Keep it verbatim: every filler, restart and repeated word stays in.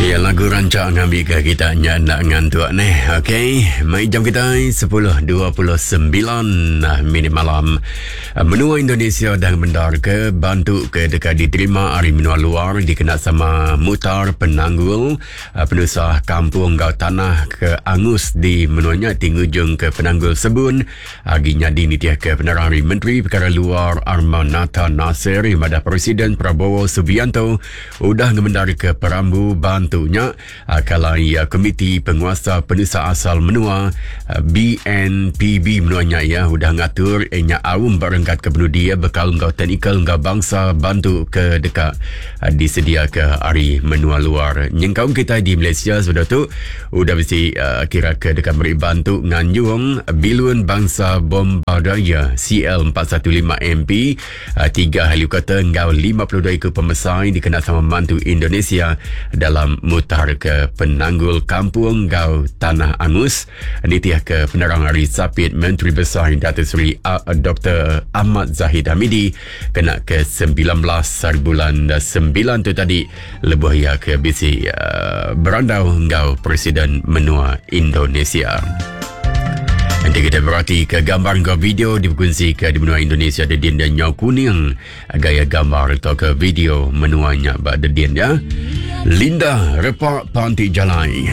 Ya, lagu rancak ngambil ke kita nya nak ngantuk ni. Okey, mai jam kita sepuluh dua puluh sembilan minit malam. Menua Indonesia dah bendar ke bantu ke dekat diterima hari menua luar dikena sama mutar penanggul penusah kampung gau tanah ke angus di menuanya tingujung ke penanggul sebun. Agi nyadi nitiah ke penerang hari Menteri Perkara Luar Armanatha Nasir madah Presiden Prabowo Subianto udah ngemendar ke perambu bantu tentunya kalau ya Komiti Penguasa Penusah Asal Menua B N P B menuanya ya udah ngatur nya aum barengkat ke penudi bekal ngau teknikal ngau bangsa bantu ke dekat disedia ke hari menua luar. Nyengkaum kita di Malaysia sudah tu udah mesti uh, kira ke dekat beri bantu nganjung bilun bangsa Bombardier C L empat satu lima M P uh, tiga helikopter ngau lima puluh dua ekor pemesai dikena sama mantu Indonesia dalam mutar ke penanggul kampung gau tanah angus. Nitiah ke penerang hari Sapit Menteri Besar Datuk Seri Doktor Ahmad Zahid Hamidi kena ke sembilan belas bulan sembilan tu tadi lebuh ia ke bisi uh, berandau ngau Presiden Menua Indonesia. Nanti kita berhati ke gambar ke video diberkongsi ke di menua Indonesia dedin dan nyau kuning gaya gambar atau ke video menuanya ba dedin ya. Linda Repak Panti Jalai.